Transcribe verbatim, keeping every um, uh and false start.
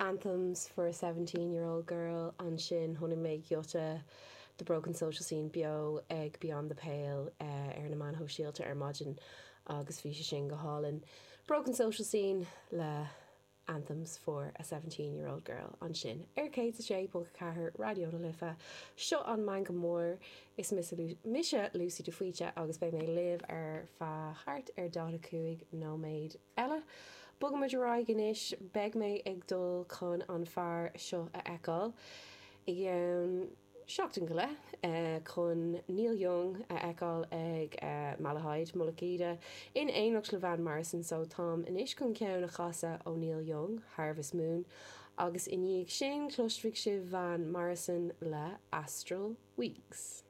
Anthems for a Seventeen Year Old Girl ansin chonaic mé giota de Broken Social Scene beo ag Beyond the Pale ar na meáin shóisialta ar maidin agus bhí sé sin go hálainn. Broken Social Scene le Anthems for a Seventeen Year Old Girl ansin ar céad a sé ponc ceathair Raidió na Life. Seo an Meangadh Mór is mise Lucy de Faoite agus beidh mé libh ar feadh thart ar daichead a cúig nóiméad eile. Bogaimid ar aghaidh anois, beidh mé ag dul chun an fear seo a fheiceáil i gceann seachtain go leith chun Neil Young a fheiceáil ag Malahide, Mullach Íde, in éineacht le Van Morrison so táim anois chun ceann a chasadh ó Neil Young, Harvest Moon, agus i ndiaidh sin cloisfidh sibh Van Morrison le Astral Weeks.